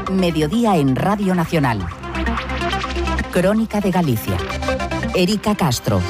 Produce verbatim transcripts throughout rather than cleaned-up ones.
Mediodía en Radio Nacional. Crónica de Galicia. Erika Castro.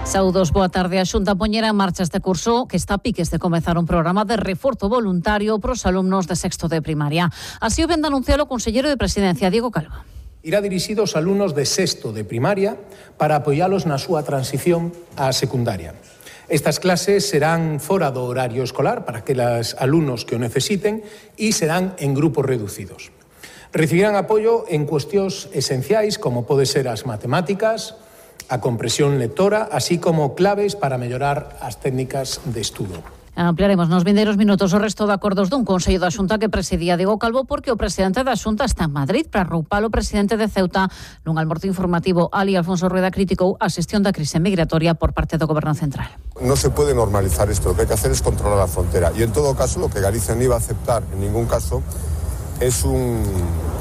Saúdos, boa tarde. A Xunta poñera en marcha este curso que está a piques de comezar un programa de reforzo voluntario para os alumnos de sexto de primaria. Así o vende anunciar o conselleiro de Presidencia, Diego Calvo. Irá dirixido aos alumnos de sexto de primaria para apoialos na súa transición á secundaria. Estas clases serán fora do horario escolar para aqueles alumnos que o necesiten e serán en grupos reducidos. Recibirán apoio en cuestións esenciais como pode ser as matemáticas, a compresión lectora, así como claves para mellorar as técnicas de estudo. Ampliaremos nos vindeiros minutos o resto de acordos dun Consello da Xunta que presidía Diego Calvo porque o presidente da Xunta está en Madrid para roupar o presidente de Ceuta nun almorzo informativo. Ali Alfonso Rueda criticou a xestión da crise migratoria por parte do Goberno Central. No se puede normalizar esto, lo que hay que hacer es controlar la frontera y en todo caso lo que Galicia no iba a aceptar en ningún caso es un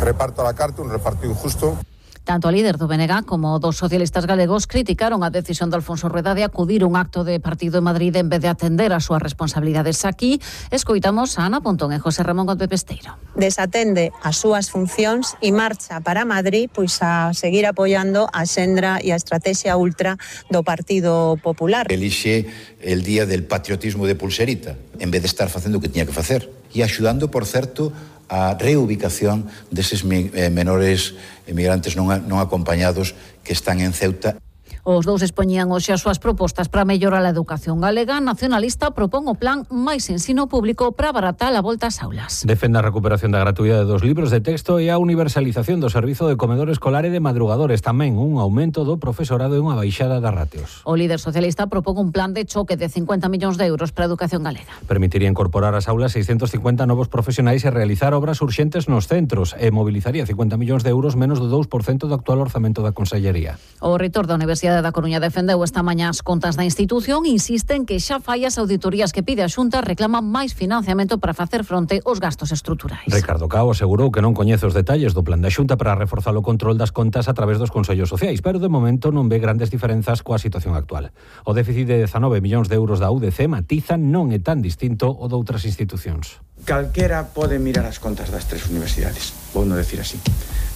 reparto a la carta, un reparto injusto. Tanto a líder do B N G como dos socialistas galegos criticaron a decisión de Alfonso Rueda de acudir a un acto de partido en Madrid en vez de atender as súas responsabilidades. Aquí escoitamos a Ana Pontón e José Ramón Gómez Pesteiro. Desatende as súas funcións e marcha para Madrid pois a seguir apoiando a xendra e a estrategia ultra do Partido Popular. Elixe el día del patriotismo de pulserita en vez de estar facendo o que tiña que facer e axudando, por certo, a reubicación deses menores emigrantes non, non acompañados que están en Ceuta. Os dous expoñían hoxe as súas propostas para mellorar a educación galega. Nacionalista propón o plan máis ensino público para abaratar a volta ás aulas. Defende a recuperación da gratuidade dos libros de texto e a universalización do servizo de comedor escolar e de madrugadores. Tamén un aumento do profesorado e unha baixada das ratios. O líder socialista propón un plan de choque de cincuenta millóns de euros para a educación galega. Permitiría incorporar ás aulas seiscentos cincuenta novos profesionais e realizar obras urxentes nos centros e movilizaría cincuenta millóns de euros, menos do dous por cento do actual orzamento da Consellería. O reitor da Universidade da Coruña defendeu esta mañá as contas da institución e insiste en que xa fai as auditorías que pide a Xunta, reclama máis financiamento para facer fronte aos gastos estruturais. Ricardo Cao asegurou que non coñece os detalles do plan da Xunta para reforzar o control das contas a través dos consellos sociais, pero de momento non ve grandes diferenzas coa situación actual. O déficit de dezanove millóns de euros da U D C matiza non é tan distinto o de outras institucións. Calquera pode mirar as contas das tres universidades, vou non decir así,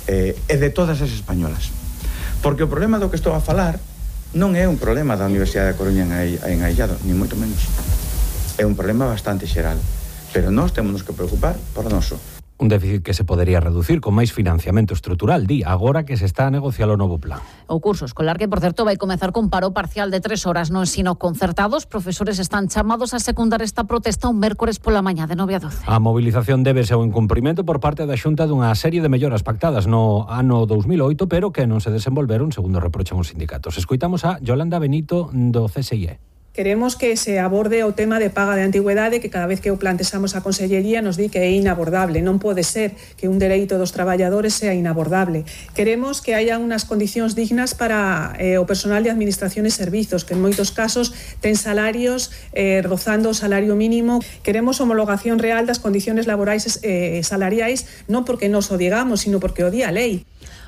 eh, e de todas as españolas. Porque o problema do que estou a falar non é un problema da Universidade da Coruña en aillado, ni moito menos. É un problema bastante xeral, pero nós temos que preocupar por noso. Un déficit que se podería reducir con máis financiamento estrutural, di, agora que se está a negociar o novo plan. O curso escolar que, por certo, vai comezar con paro parcial de tres horas no ensino concertado. Os profesores están chamados a secundar esta protesta un mércores pola mañá de nove a doce. A movilización débese ao incumprimento por parte da Xunta dunha serie de melloras pactadas no ano dous mil oito, pero que non se desenvolveron, segundo reprochan os sindicatos. Escoitamos a Yolanda Benito do C S I E. Queremos que se aborde o tema de paga de antigüedade, que cada vez que o plantexamos a Consellería nos di que é inabordable. Non pode ser que un dereito dos traballadores sea inabordable. Queremos que haya unhas condicións dignas para eh, o personal de Administración e Servizos, que en moitos casos ten salarios eh, rozando o salario mínimo. Queremos homologación real das condicións laborais e eh, salariais, non porque nos o digamos, sino porque o di a lei.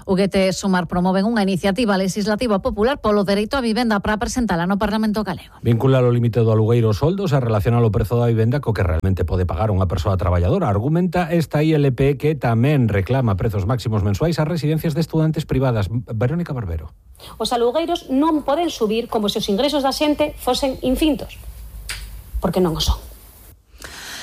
O G T Sumar promoven unha iniciativa legislativa popular polo dereito á vivenda para presentala no Parlamento galego. Vincular o límite do alugueiro aos soldos e relacionar o prezo da vivenda co que realmente pode pagar unha persoa traballadora. Argumenta esta I L P que tamén reclama prezos máximos mensuais ás residencias de estudantes privadas. Verónica Barbero. Os alugueiros non poden subir como se os ingresos da xente fosen infintos, porque non o son.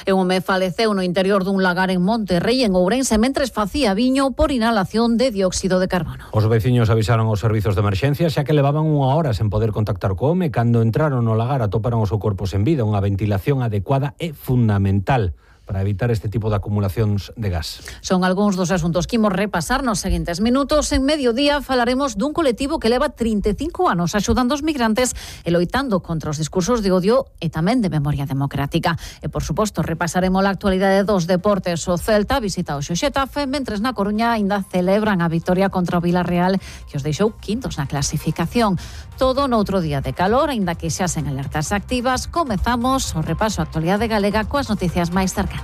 E un home faleceu no interior dun lagar en Monterrey, en Ourense, mentres facía viño por inhalación de dióxido de carbono. Os veciños avisaron aos servizos de emerxencia xa que levaban unha hora sen poder contactar co home. Cando entraron no lagar atoparon o seu corpo sen vida. Unha ventilación adecuada é fundamental para evitar este tipo de acumulacións de gas. Son algúns dos asuntos que imos repasar nos seguintes minutos. En Mediodía falaremos dun colectivo que leva trinta e cinco anos axudando os migrantes e loitando contra os discursos de odio e tamén de memoria democrática. E, por suposto, repasaremos a actualidade dos deportes. O Celta visita o Xetafe, mentres na Coruña ainda celebran a victoria contra o Vilarreal, que os deixou quintos na clasificación. Todo noutro día de calor, aínda que xa sen alertas activas. Comezamos o repaso á actualidade galega coas noticias máis cercanas.